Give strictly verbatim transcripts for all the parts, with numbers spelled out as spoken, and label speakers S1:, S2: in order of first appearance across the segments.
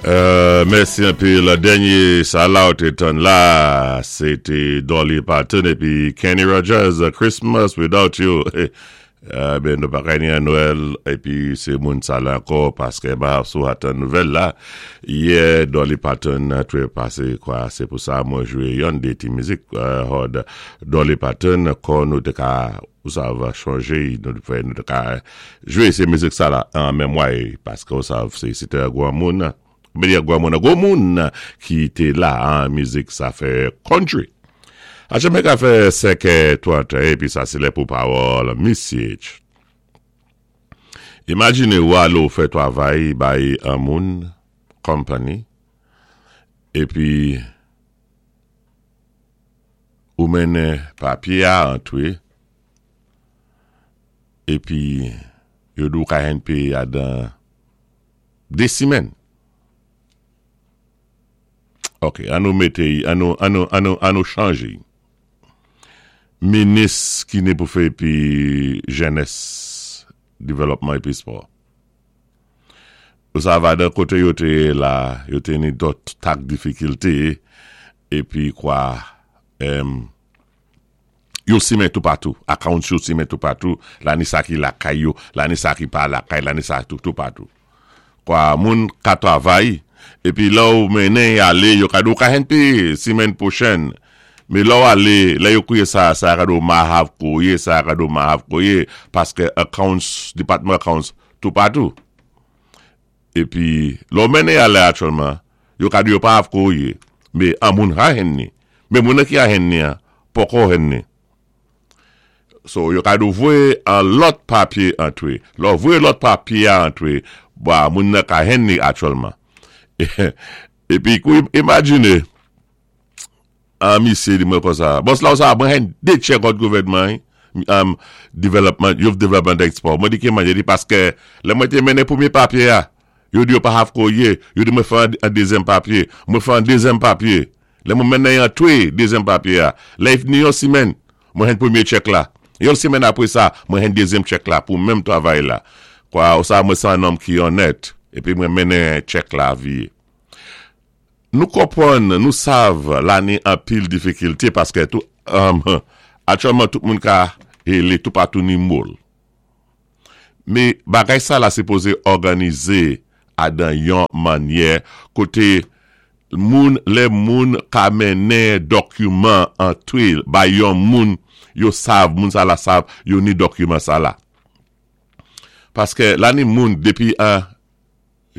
S1: Euh, mèsi anpil. Dènyé sa la ou té tann la, sé té Dolly Parton épi Kenny Rogers, Christmas Without You. Euh, ben nou pa ka ni Nwèl épi sé moun sa la ankò paské ba sou atan nouvèl la. Yè Dolly Parton twé pasé kwa, sé pou sa mwen jwé yon dé ti mizik euh, hòd Dolly Parton kon nou té ka ou sav chanjé, nou fè nou té ka jwé sé mizik sa la an memwa paské ou sav sé sé té gwan moun mwen di gwan moun, gwo moun ki té la an mizik sa fè country. A jame ka fè senk trant épi sa sé lè pou pawòl Missy H. Imajiné ou al ou fè twavay bay an moun company épi ou mennen papyé a antwé épi yo di ou ka jwenn péyé a dan dé simèn. Ok, an nou mété, an nou, an nou, an nou, an nou chanjé. Minis ki ni pou fè épi jenès, dévelopman épi spò. Ou sa va dan koté yo té la, yo té ni dòt tak difikilté, épi kwa, em, yo simen toupatou, accounts yo simen toupatou, la ni sa ki lakay yo, la ni sa ki pa lakay, la ni sa tout, toupatou. Kwa moun ka travay, épi la ou mennen alé, yo ka di ou ka jwenn péyé simèn pwochèn. Mé la ou alé, lè yo kouwé sa, sa ka di ou ma hav kouwé, sa ka di ou ma hav kouwé, paské accounts, department accounts, toupatou. Épi, lè ou mennen alé aktyèlman, yo ka di yo pa hav kouwé, mé an moun ha jwenn ni. Mé moun ki ha jwenn ni an, poko jwenn ni. So, yo ka di ou voyé an lòt papyé antwé. Lè ou voyé lòt papyé a antwé, ba, moun nan ka jwenn ni aktyèlman. Épi, kou imajiné, an misye di mwen kon sa, bòs la ou sa, mwen jwenn dé check òd gouvèdman, um, development, Youth Development Expo. Mwen di ki manye, di paské lè mwen té mennen pwémyé papyé a, yo di yo pa hav kouwé, yo di mwen fè an dézyèm papyé, mwen fè an dézyèm papyé. Lè mwen mennen antwé dézyèm papyé a, lè if ni yon simèn, mwen jwenn pwémyé check la. Yon simèn apwé sa, mwen jwenn dézyèm check la pou menm twavay la. Kwa ou sa mwen san nonm ki onèt, épi mwen mennen check la vié. Nou konpwann, nou sav la ni anpil difikilté paské tout, um, aktyèlman tout moun ka hélé toupatou ni moul. Mé bagay sa la sipozé òganizé a dan yon mannyè koté moun, lè moun ka mennen dokiman antwé bay yon moun, yo sav, moun sa la sav, yo ni dokiman sa la. Paské la ni moun dépi an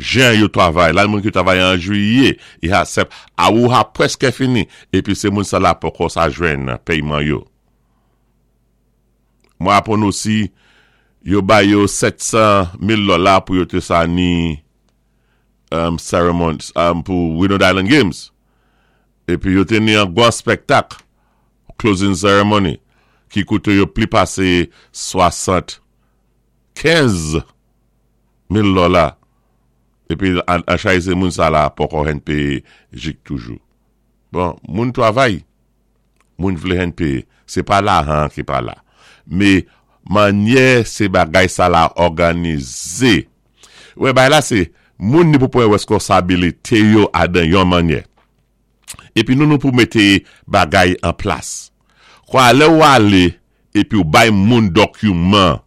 S1: jen yo travay, la ni moun ki travay an jwiyé, i ha sep, a ou ha pwèské fini, épi sé moun sa la poko sa jwenn péyman yo. Mwen apwann osi, yo bay yo sèt san mil dola pou yo té sa ni um, ceremony um, pou Windward Island Games. Épi yo té ni an gwan spektak, closing ceremony, ki kouté yo pli pasé swasant kenz mil dola. Épi an, an chay sé moun sa la poko jwenn péyé jik toujou. Bon, moun twavay, moun vlé jwenn péyé, sé pa lajan ki pa la. Mé mannyè sé bagay sa la òganizé. Wè, bay la sé, moun ni pou pwan weskonsabilité yo a dan yon mannyè. Épi nou nou pou mété bagay an plas. Kwa lè ou alé, épi ou bay moun dokiman,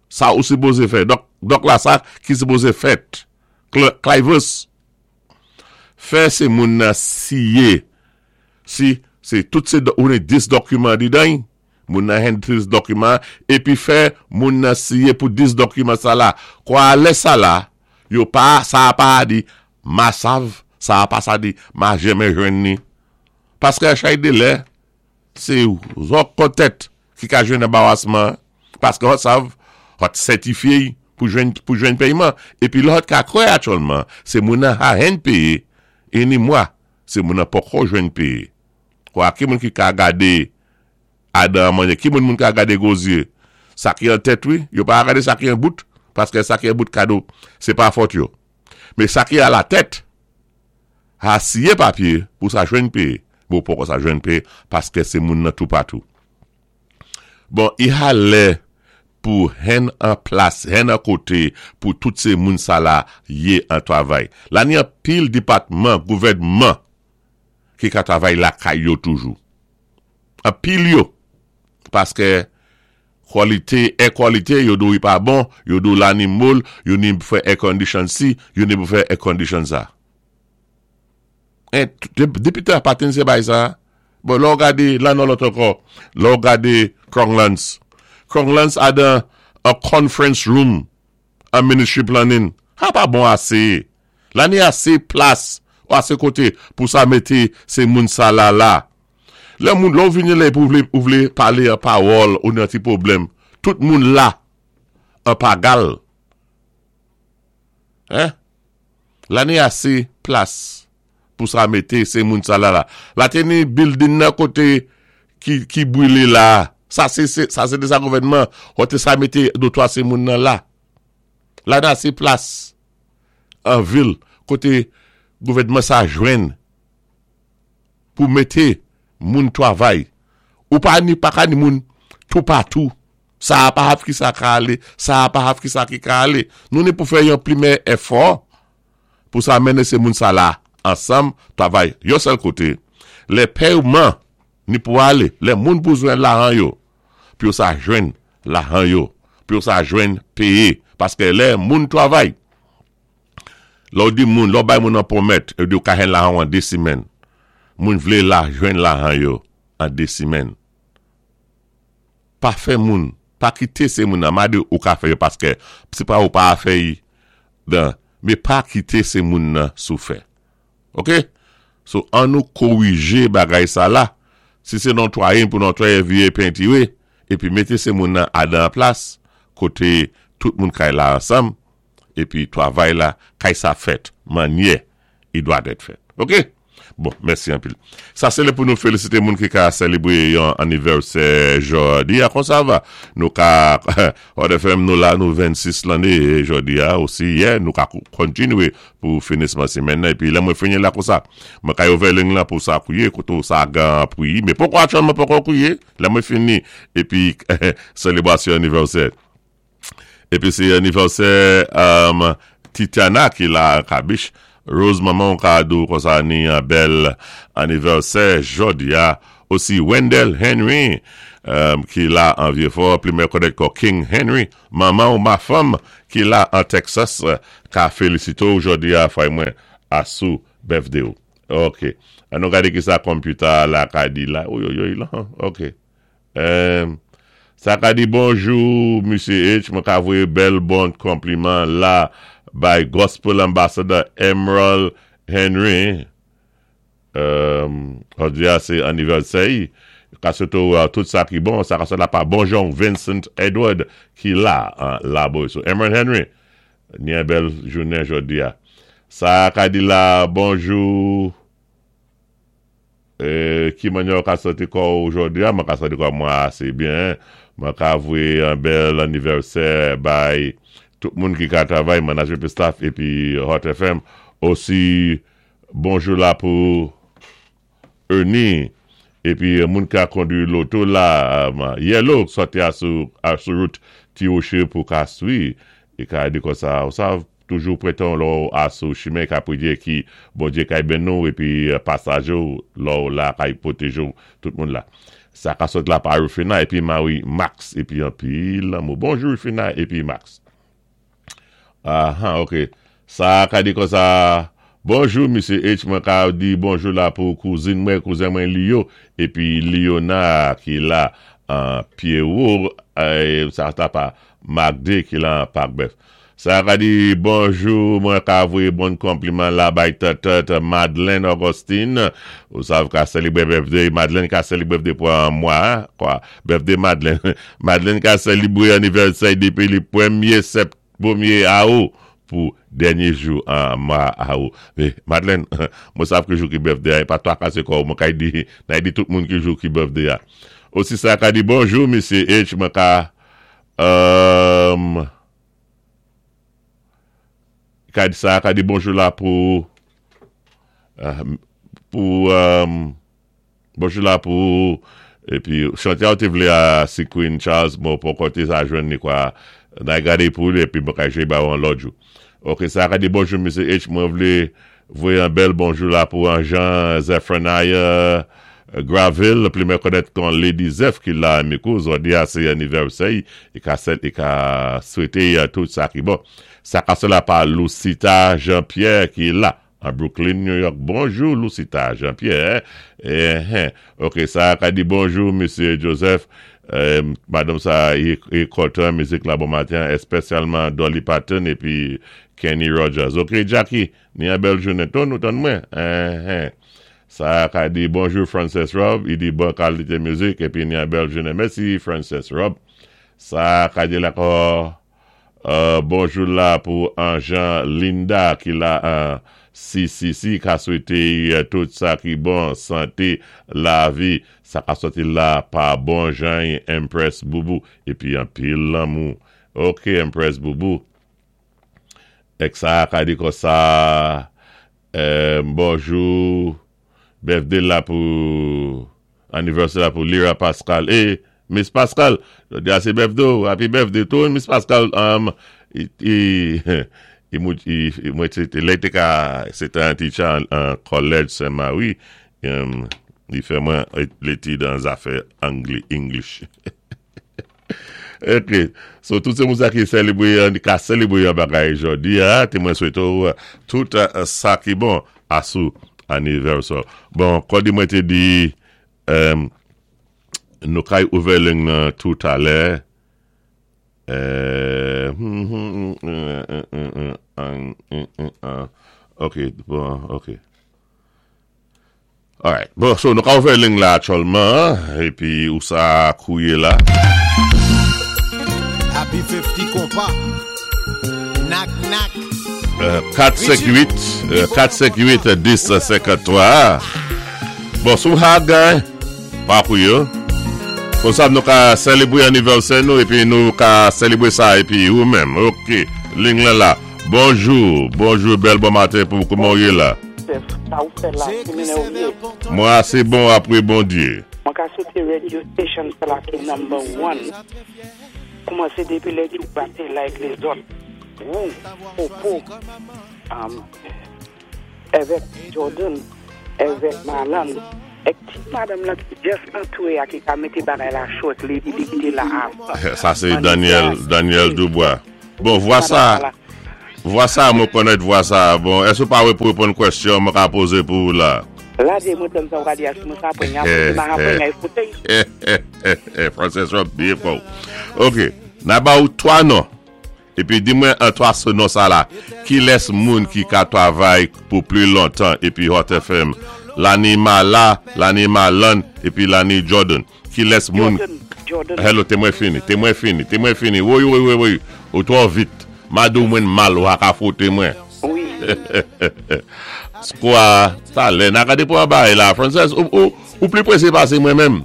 S1: sa ou sipozé fè. Dòk, dòk la sa ki sipozé fèt. Clivus. Fè sé moun nan siyé. Si, sé tout sé, ou ni dis dokiman di dan, moun nan jwenn dis dokiman, épi fè moun nan siyé pou dis dokiman sa la. Kwa lè sa la, yo pa, sa pa di, ma sav, sa pa sa di, ma jèmè jwenn ni. Paské a chay dé lè, sé zòt kon tèt ki ka jwenn anbarasman, paské hòt sav, hòt sètifié pou jwenn, pou jwenn péyman. Épi lòt ka kwè aktyèlman, sé moun nan ha jwenn péyé, é ni mwa, sé moun nan poko jwenn péyé. Kwa ki moun ki ka gadé adan manye, ki moun moun ka gadé gozye, sa ki an tèt wi, yo pa gadé sa ki an bout, paské sa ki an bout kado, sé pa fòt yo. Mé sa ki a la tèt, ha siyé papyé pou sa jwenn péyé. Bon, poko sa jwenn péyé, paské sé moun nan toupatou. Bon, i ha lè Pou hen an plas, hen an koté pou tout sé moun sa la yé an twavay. La ni anpil dépatman, gouvèdman ki ka twavay lakay yo toujou. Anpil yo. Paské kwalité, air quality, yo di ou pa bon, yo di ou la ni mold, yo ni pou fè air condition si, yo ni pou fè air condition sa. En, depi te apaten se bay sa, bon, lò gade, la nan lòt ankò, lò gade Crownlands. Crownlands adan a conference room a ministry planning. Ha pa bon asé. La ni asé plas, ou asé koté pou sa mété sé moun sa la la. Lè moun, lò vini lè pou vlé, ou vlé palé an pawòl ou nan ti pwoblèm. Tout moun la, an pagal. Hein? La ni asé plas pou sa mété sé moun sa la la. La té ni building nan koté ki, ki bwilé la. Sa sé, sé, sa sé de sa gouvèdman. Koté sa mété dé twa sé moun nan la. La ni asé plas an vil koté gouvèdman sa jwenn pou mété moun twavay. Ou pa ni pa ka ni moun tout patou. Sa a pa hav ki sa ka alé, sa a pa hav ki sa ki ka alé. Nou ni pou fè yon plimè efò pou sa mennen sé moun sa la ansanm twavay yon sèl koté. Lè pèyman ni pou alé, lè moun bezwen lajan yo, pou yo sa jwenn lajan yo, pou yo sa jwenn péyé paské lè moun twavay. Lò di moun, lò bay moun an pwomèt, yo di ou ka jwenn lajan an dé simèn. Moun vlé la jwenn lajan yo an dé simèn. Pa fè moun, pa kité sé moun nan, ma di ou ka fè yo paské sé pa ou pa fè yi dan, mé pa kité sé moun nan sou fè. Ok? So an nou kowijé bagay sa la. Si sé netwaye pou netwaye vyé pentiré, épi mété sé moun nan adan plas, koté tout moun kay la ansanm, épi twavay la, kay sa fèt, mannyè, i dwa dèt fèt. Ok? Bon, mèsi anpil. Sa sé lè pou nou félisité moun ki ka sélébwé yon anivèsè jòdi a, kon sa va. Nou ka, Hot F M nou la nou vennsis lanné jòdi a osi, yè, nou ka kontinwé pou finisman simèn nan, épi lè mwen fini la kon sa. Mwen ka ouvè ling la pou sa kouwé, koto sa gan pouyi, mé poko aktyèlman poko kouwé, lè mwen fini, épi sélébwasyon anivèsè. Épi sé anivèsè um, Titiana ki la Kabich. Rose maman ka di ou kon sa ni an bèl anivèsè jòdi a. Osi Wendell Henry um, ki la an Vieux-Fort, pli mè konèt kon King Henry. Maman ou ma fanm ki la an Texas ka félisité ou jòdi a fay mwen asou birthday ou. Ok. An nou gade ki sa computer la ka di la. Oy, oy, oy, la. Ok. Um, sa ka di bonjou, Mesye H. Mwen ka voyé bèl bon konpliman la by Gospel Ambassador Emerald Henry. Um, jòdi a sé anivèsè. Ka sitou uh, tout sa ki bon, sa ka sot la pa bonjon Vincent Edward ki la, uh, la boy. So Emerald Henry, ni an bèl jounen jòdi a. Sa ka di la bonjou, euh, ki mannyè ka santi kò jòdi a, mwen ka santi kò mwen asé byen. Mwen ka voyé an bèl anivèsè bay tout moun ki ka travay, management staff épi Hot F M. Osi bonjou la pou Ernie épi moun ka kondwi loto la, um, Yellow sòti a sou, a sou wout Ti Woché pou ka swi é ka di kon sa, ou sa toujou prétan lò a sou chimen ka pwiyé ki Bondyé kay ben nou épi pasajé lò la kay pwotèjé tout moun la. Sa ka sot la pa Rufina épi Marie Max épi anpil lanmou. Bonjou Rufina épi Max. Ah, ok. Sa ka di kon sa, bonjou Mesye H, mwen ka di bonjou la pou kouzin mwen, kouzen mwen Lio, épi Liona ki la an Pierrot, eh, sa ta pa Magde ki la an Parc-Bœuf. Sa ka di bonjou, mwen ka voyé bon konpliman la bay tèt Madeleine Augustine. Ou sav ka sélébwé birthday, Madeleine ka sélébwé birthday pou an mwa, kwa, birthday Madeleine. Madeleine ka sélébwé anivèsè dépi li pwémyé sept, pwémyé awou pou dènyé jou an mwa awou. Mé Madeleine, mwen sav ki jou ki birthday, pa twakasé kò, mwen kay di, nay di tout moun ki jou ki birthday a. Osi sa ka di bonjou, Mesye H, mwen ka, um, ka di sa, ka di bonjou la pou, uh, pou, um, bonjou la pou Épi, chanté a té vlé a si Queen Charles, mwen poko té sa jwenn ni kwa, nan gadé pou li, épi mwen ka jé ba ou an lòt jou. Ok, sa ka di bonjou, Mesye H, mwen vlé voyé an bèl bonjou la pou an Jean Zephaniah Graville, pli mwen konnèt kon Lady Zeph ki la mikou, zòdi a sé anivèsè, i ka sèl, i ka swété tout sa ki bon. Sa ka sè la pa Lucita Jean-Pierre ki la, an Brooklyn, New York. Bonjou, Lucita Jean-Pierre. Eh, eh. Ok, sa ka di bonjou, Mesye Joseph. Euh, madanm sa, i, i kontan mizik la bon maten, espesyalman Dolly Parton épi Kenny Rogers. Ok, Jackie, ni an bèl jounen tou, nou tann mwen. Eh, eh. Sa ka di bonjou Frances Rob, i di bon kalité mizik, épi ni an bèl jounen. Mèsi Frances Rob. Sa ka di la ko, euh, bonjou la pou an Jean Linda ki la an C C C ka swété euh, tout sa ki bon, santé, lavi, sa ka soti la pa bon Jean Empress Boubou, épi an pil lanmou. Ok, Empress Boubou. Ek sa ka di kon sa, euh, bonjou, birthday la pou, anniversaire la pou Lira Pascal. Eh, Miss Pascal, jòdi a sé birthday, happy birthday to Miss Pascal. Um, i, i, i, mou- i, i, mwen té, lè té ka, sé an teacher an, an college Saint-Marie, um, li fè mwen létid an zafè Angli, English. Ok, so tout sé moun sa ki sélébwé, an ka sélébwé an bagay jòdi a, té mwen swété ou tout uh, sa ki bon asou anivèsè. Bon, kon di mwen té di, um, nou kay ouvè ling nan tout alè. Euh, hmm, hmm, hmm, hmm, hmm, hmm, hmm, hmm, hmm. Ok, bon, ok. Alright, bon, so nou ka ouvè ling la aktyèlman, épi ou sa kouye la.
S2: Happy fifty konpa. Knock knock.
S1: Euh, kat senk uit, euh, kat senk uit dis senkanntwa. Bon, sou ha gen, pa pou yo. Kon sa nou ka sélébwé anivèsè nou, épi nou ka sélébwé sa, épi ou menm. Ok, ling la la. Bonjou, bonjou, bèl bon maten pou kouman ou yé la?
S3: Sa ou fè la, se mene ou ye?
S1: Mwen asé bon apwé Bondyé.
S3: Mwen ka swété radio station sa la ki number one. Koumansé dépi lè di ou baté like les autres. Ou, Popo, um, évèk Jordan, évèk Malan, ek ti madanm la ki just antwé a ki ka mété bagay la cho ek li di li ki te la avan.
S1: Sa sé Daniel, Daniel Dubois. Bon, vwa sa, vwa sa, mwen konnèt vwa sa. Bon, èske ou pawé pou réponn kwèsyon mwen ka pozé pou ou la?
S3: La de mwen tem sa ou ka di as mwen sa pwen ya, mwen sa pwen ya ekoute.
S1: Frances Rob, byen fò. Ok, na ba ou twa non. Épi di mwen an twa sé non sa la. Ki lès moun ki ka twavay pou pli lontan épi Hot F M? Lani Mala, Lani Malan, épi Lani Jordan. Ki lès moun?
S3: Jordan, Jordan.
S1: Hello, té mwen fini, té mwen fini, té mwen fini. Woy, woy, woy, woy. Ou twò vit. Madou mwen mal ou a ka fwoté mwen.
S3: Wi.
S1: Skwa, talè, na gade pou an bay la. Frances, ou, ou, ou pli pwésé pasé mwen menm.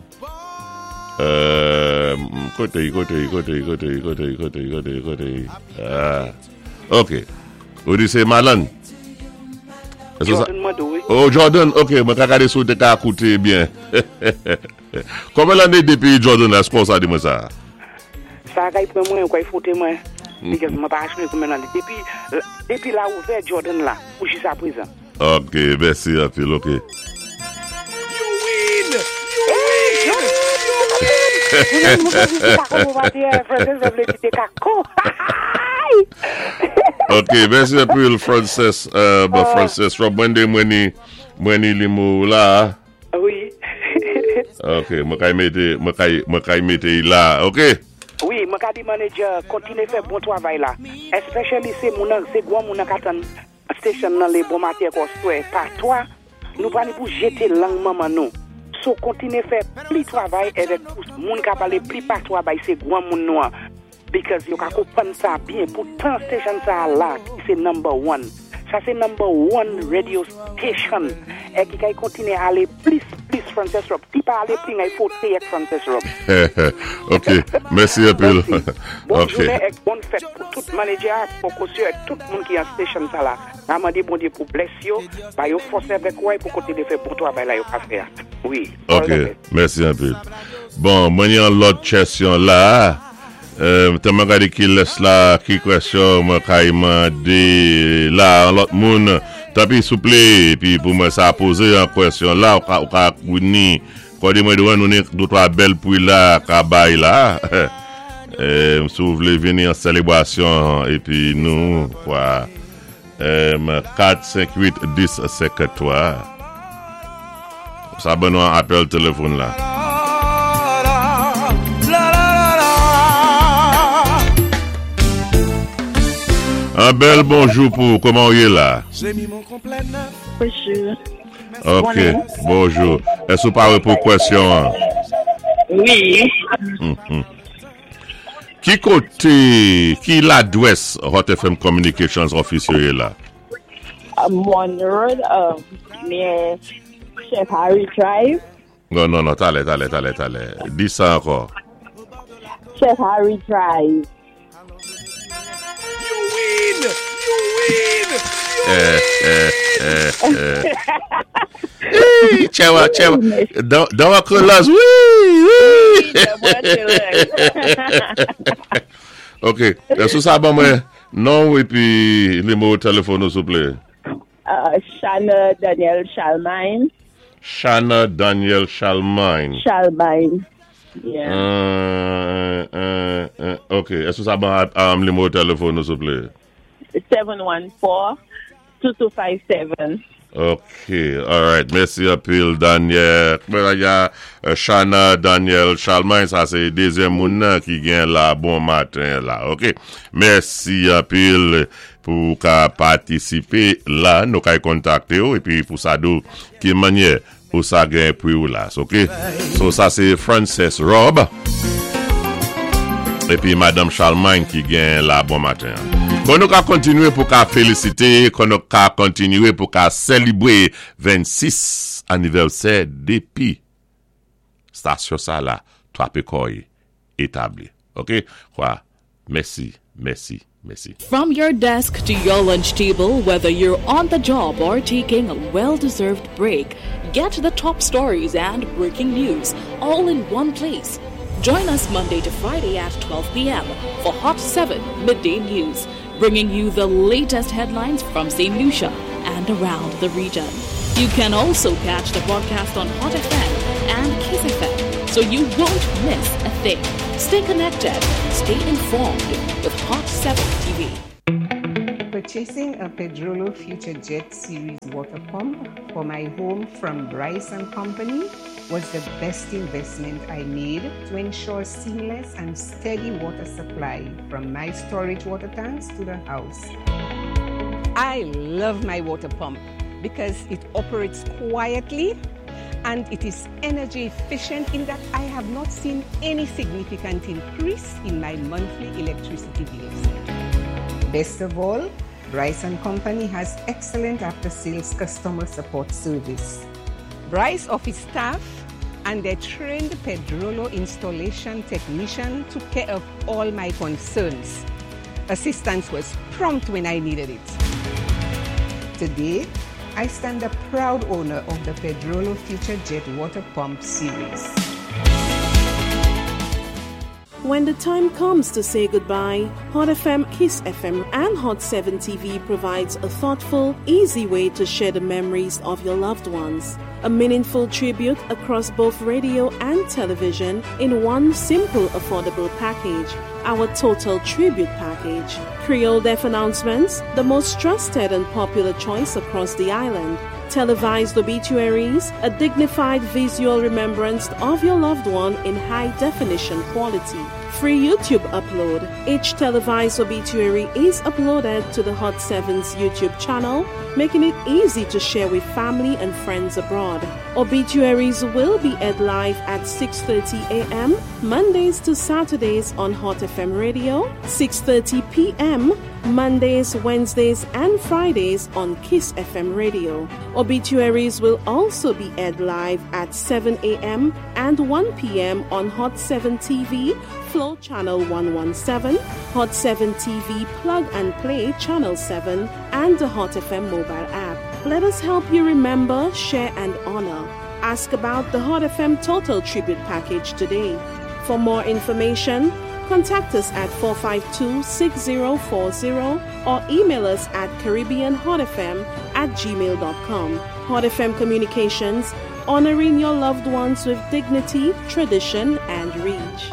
S1: Euh, koté, koté, koté, koté, koté, koté, koté, koté. Ah. Ok. Ou di sé Malan? Èske sa-
S3: Jordan mwen do, wi.
S1: Oh, Jordan, ok, mwen ka gade sou te ka koute byen. Konbyen lanné dépi Jordan la, èske sa di mwen sa?
S3: Sa kay pran mwen, ou kay fwoté mwen. Because mwen pa achwe koumen nan li. Dépi, dépi la ouvè Jordan la, ou jis a prezan.
S1: Ok, mèsi anpil, ok.
S2: You win! You win! You win!
S3: Mwen mwen di kako mwen va di, Frances mwen vle di te kako.
S1: Ok, mèsi anpil, Frances, euh, bon, Frances Rob, mwen de mwen ni, mwen ni limou la.
S3: Wi.
S1: Ok, mwen kay mété, mwen kay, mwen kay mété la, ok?
S3: Wi, mwen ka di manager, kontiné fè bon twavay la. Especially sé moun nan, sé gwan moun nan ka tann station nan lé bon maten kon swè. Pa toa, nou pa ni pou jété lang manman nou. So kontiné fè pli twavay évèk pou moun ka palé pli patwa bay sé gwan moun nou an. Because yo ka konpwann sa byen. Pou tan station sa la, ki sé number one. Sa sé number one radio station. É ki kay kontiné alé plis, plis Frances Rob. Ti pa alé pli ngay fwoté ek Frances Rob.
S1: Ok, mèsi anpil.
S3: Mèsi. Bon
S1: Ok.
S3: jounen ek bon fèt pou tout manager, pou kosyo ek tout moun ki an station sa la. A mandé Bondyé pou bless yo, ba yo fòs avèk kouway pou kontiné fè bon twavay la yo ka fè. Wi.
S1: Ok, mèsi anpil. Bon, mwen yon lòt kèsyon la. Euh, te mwen gade ki lès la, ki kèsyon mwen kay mande la, an lòt moun. Tanpi souplé, pi pou mwen sa pozé an kèsyon la, ou ka, ou ka kouni, kòde mwen dwen nou ni dé twa bèl pri la, ka bay la. Euh, si ou vlé vini an sélébwasyon, épi nou, kwa, euh, kat, senk, uit, dis, senkanntwa. Sa ban nou an apèl téléfòn la.
S2: La la la la.
S1: An bèl bonjou pou, kòman ou yé la?
S4: Bonjou.
S1: Ok, bonjou. Èske ou paré pou kèsyon an?
S4: Wi.
S1: Mhm. Ki koté, ki ladwès Hot F M Communications Office yo yé la?
S4: Um, One Road, um, near Chef Harry Drive.
S1: Non, non, non, talè, talè, talè, talè. Di sa ankò.
S4: Chef Harry Drive.
S2: You win! You win!
S1: Eh, eh, eh, eh. Hey, tchèwa, tchèwa. Dan, dan wakrelas, wi, wi. Ok, sou sa ban mwen non épi nimewo téléfòn nou, souplé.
S4: Uh, Shana Daniel Chalmine.
S1: Shana Daniel Chalmine.
S4: Chalmine. Yeah.
S1: Euh, euh, euh, ok, èske sa ban um, nimewo téléfòn nou, souplé?
S4: seven one four, two two five seven.
S1: Ok, alright, mèsi anpil Daniel. Ya, Shana Daniel Chalmine, sa sé dézyèm moun nan ki gen la bon maten la, ok. Mèsi anpil pou ka patisipé la, nou kay kontakté ou, épi pou sa di ou ki mannyè pou sa gen pri ou la, ok. So sa sé Frances Rob, épi Madame Chalmine ki gen la bon maten. Bon, nou ka kontinué pou ka félisité, kon nou ka kontinué pou ka sélébwé vennsis anivèsè dépi stasyon sa la, twapé kò'y établi. Ok? Kwa, mèsi, mèsi, mèsi.
S5: From your desk to your lunch table, whether you're on the job or taking a well deserved break, get the top stories and breaking news all in one place. Join us Monday to Friday at twelve p m for Hot seven Midday News, bringing you the latest headlines from Saint Lucia and around the region. You can also catch the broadcast on Hot F M and Kiss F M, so you won't miss a thing. Stay connected, stay informed with Hot seven T V.
S6: Purchasing a Pedrollo Future Jet Series water pump for my home from Bryce and Company was the best investment I made to ensure seamless and steady water supply from my storage water tanks to the house. I love my water pump because it operates quietly and it is energy efficient in that I have not seen any significant increase in my monthly electricity bills. Best of all, Bryce and Company has excellent after-sales customer support service. Bryce office staff and their trained Pedrollo installation technician took care of all my concerns. Assistance was prompt when I needed it. Today, I stand a proud owner of the Pedrollo Future Jet Water Pump Series.
S7: When the time comes to say goodbye, Hot F M, Kiss F M, and Hot seven T V provides a thoughtful, easy way to share the memories of your loved ones. A meaningful tribute across both radio and television in one simple, affordable package. Our Total Tribute Package. Creole Death Announcements, the most trusted and popular choice across the island. Televised obituaries, a dignified visual remembrance of your loved one in high definition quality. Free YouTube upload. Each televised obituary is uploaded to the Hot seven's YouTube channel, making it easy to share with family and friends abroad. Obituaries will be aired live at six thirty a m. Mondays to Saturdays on Hot F M Radio, six thirty p m. Mondays, Wednesdays, and Fridays on Kiss F M Radio. Obituaries will also be aired live at seven a m and one p m on Hot seven T V, Flow Channel one one seven, Hot seven T V Plug and Play Channel seven, and the Hot F M mobile app. Let us help you remember, share, and honor. Ask about the Hot F M Total Tribute Package today. For more information, contact us at four five two, six zero four zero or email us at caribbeanhotfm at gmail dot com. Hot F M Communications, honoring your loved ones with dignity, tradition, and reach.